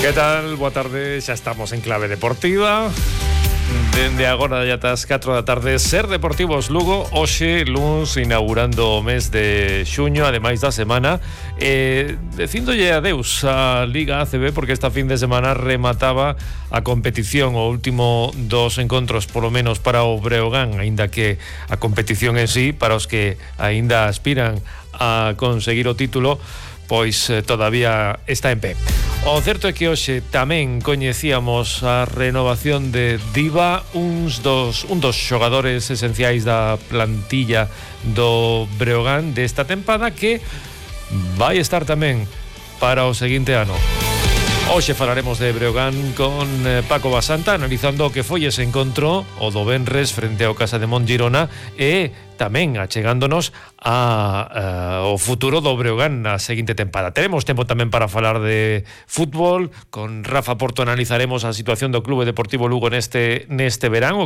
Que tal? Boa tarde, xa estamos en Clave Deportiva. Dende agora ya ás 4 da tarde, Ser Deportivos Lugo, hoxe, luns, inaugurando o mes de xuño, ademais da semana, dicíndolle adeus a Liga ACB, porque esta fin de semana remataba a competición, o último dos encontros, polo menos para o Breogán, aínda que a competición en sí, para os que aínda aspiran a conseguir o título, pois todavía está en pé. O certo é que hoxe tamén coñecíamos a renovación de Diva, un dos xogadores esenciais da plantilla do Breogán desta tempada, que vai estar tamén para o seguinte ano. Hoxe falaremos de Breogán con Paco Basanta, analizando o que foi ese encontro o do venres frente ao Casa de Mon Girona, e tamén achegándonos ao futuro do Breogán na seguinte tempada. Teremos tempo tamén para falar de fútbol. Con Rafa Porto analizaremos a situación do Clube Deportivo Lugo neste verán, o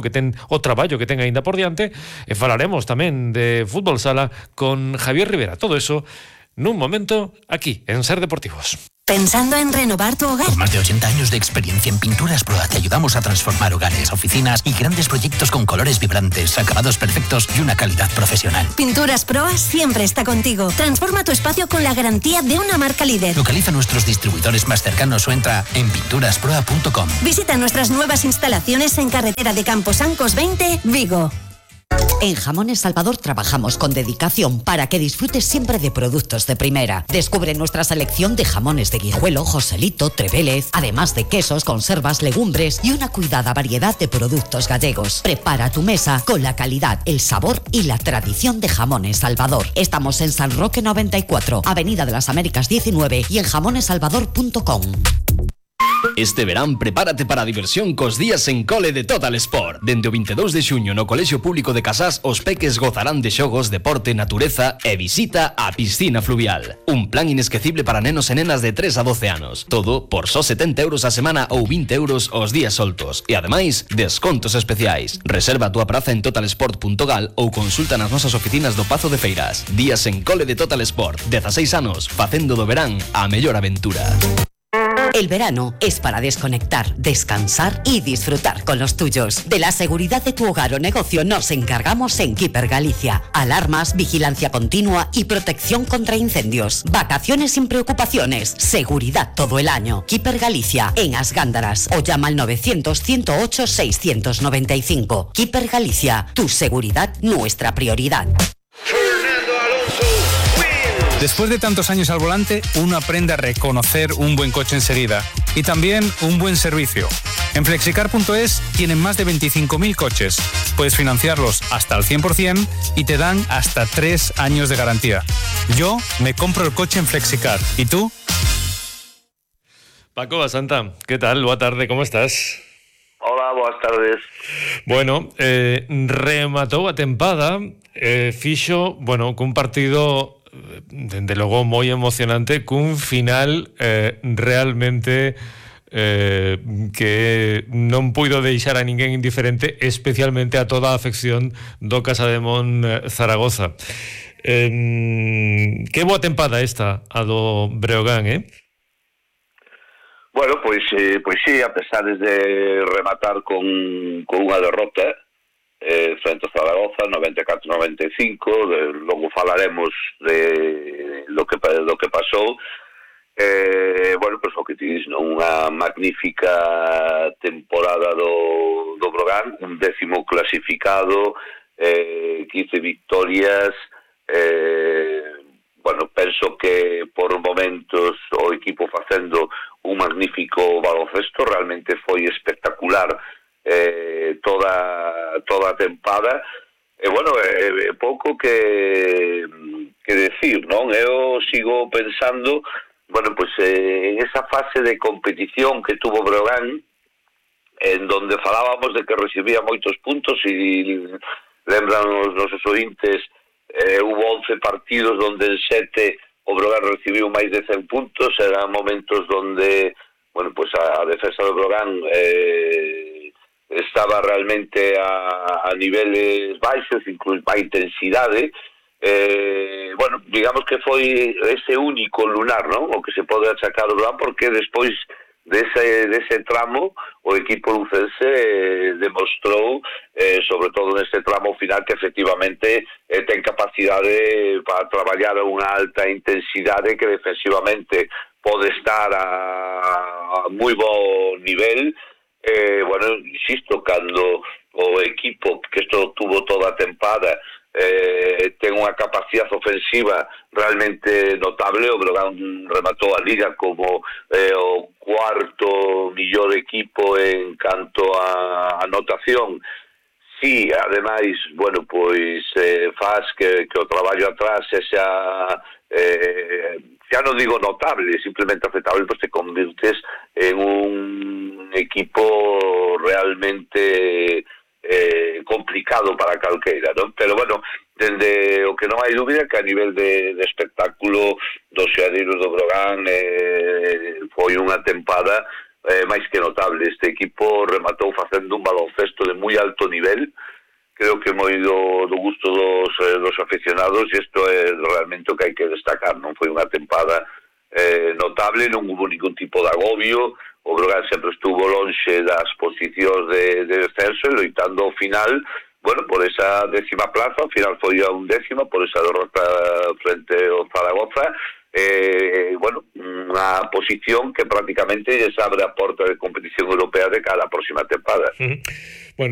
traballo que ten aínda por diante, e falaremos tamén de fútbol sala con Javier Rivera. Todo eso nun momento aquí en Ser Deportivos. ¿Pensando en renovar tu hogar? Con más de 80 años de experiencia en Pinturas Proa te ayudamos a transformar hogares, oficinas y grandes proyectos con colores vibrantes, acabados perfectos y una calidad profesional. Pinturas Proa siempre está contigo. Transforma tu espacio con la garantía de una marca líder. Localiza nuestros distribuidores más cercanos o entra en pinturasproa.com. Visita nuestras nuevas instalaciones en carretera de Camposancos 20, Vigo. En Jamones Salvador trabajamos con dedicación para que disfrutes siempre de productos de primera. Descubre nuestra selección de jamones de Guijuelo, Joselito, Trevélez, además de quesos, conservas, legumbres y una cuidada variedad de productos gallegos. Prepara tu mesa con la calidad, el sabor y la tradición de Jamones Salvador. Estamos en San Roque 94, Avenida de las Américas 19 y en jamonesalvador.com. Este verán prepárate para a diversión cos días en cole de Total Sport. Dende o 22 de xuño no Colexio Público de Casás, os peques gozarán de xogos, deporte, natureza e visita á piscina fluvial. Un plan inesquecible para nenos e nenas de 3 a 12 anos. Todo por só 70 euros a semana ou 20 euros os días soltos. E ademais, descontos especiais. Reserva a túa praza en totalsport.gal ou consulta nas nosas oficinas do Pazo de Feiras. Días en cole de Total Sport. 16 anos, facendo do verán a mellor aventura. El verano es para desconectar, descansar y disfrutar con los tuyos. De la seguridad de tu hogar o negocio nos encargamos en Keeper Galicia. Alarmas, vigilancia continua y protección contra incendios. Vacaciones sin preocupaciones. Seguridad todo el año. Keeper Galicia, en As Gándaras. O llama al 900-108-695. Keeper Galicia, tu seguridad, nuestra prioridad. Después de tantos años al volante, uno aprende a reconocer un buen coche enseguida y también un buen servicio. En Flexicar.es tienen más de 25.000 coches. Puedes financiarlos hasta al 100% y te dan hasta 3 años de garantía. Yo me compro el coche en Flexicar. ¿Y tú? Paco Basanta, ¿qué tal? Boa tarde, ¿cómo estás? Hola, boas tardes. Bueno, rematou a tempada, fixo, cun partido dende logo moi emocionante, cun final realmente que non puido deixar a ninguén indiferente, especialmente a toda a afección do Casa de Mon Zaragoza. Que boa tempada esta a do Breogán, Bueno, pois sí, a pesar de rematar con unha derrota frente ao Zaragoza, 94-95, logo falaremos de lo que pasou. Pois o que ti dis, unha magnífica temporada do Breogán, un 10º clasificado, 15 victorias. Penso que por momentos o equipo facendo un magnífico baloncesto, realmente foi espectacular toda a tempada. Pouco que decir, non? Eu sigo pensando, en esa fase de competición que tuvo Breogán, en donde falábamos de que recibía moitos puntos, e lembran os nosos ointes, hubo 11 partidos donde en 7 o Breogán recibiu máis de 100 puntos. Eran momentos donde a defensa do Breogán estaba realmente a niveles baixos, incluso a intensidade. Digamos que foi ese único lunar, non? O que se pode achacar o Breogán, porque despois dese tramo o equipo lucense demostrou, sobre todo neste tramo final, que efectivamente ten capacidade para traballar a unha alta intensidade, que defensivamente pode estar a moi bo nivel. Bueno, insisto, cando o equipo, que isto tuvo toda a tempada, ten unha capacidade ofensiva realmente notable. O Breogán rematou a Liga como o cuarto millor equipo en canto a anotación. Sí, ademais, bueno, pois faz que o traballo atrás xa non digo notable, simplemente aceptable, pois te convirtes en un equipo realmente complicado para calqueira, non? Pero bueno, dende o que non hai dúbida que a nivel de espectáculo dos xeadeiros do Breogán foi unha tempada máis que notable. Este equipo rematou facendo un baloncesto de moi alto nivel, creo que moi do gusto dos aficionados, e isto é realmente o que hai que destacar, non? Foi unha tempada notable, non hubo ningún tipo de agobio. O Breogán sempre estuvo lonxe das posicións de descenso e loitando ao final, bueno, por esa 10ª plaza. Ao final foi a 11ª por esa derrota frente ao Zaragoza. Bueno, unha posición que prácticamente les abre a porta de competición europea de cara a próxima tempada. Bueno,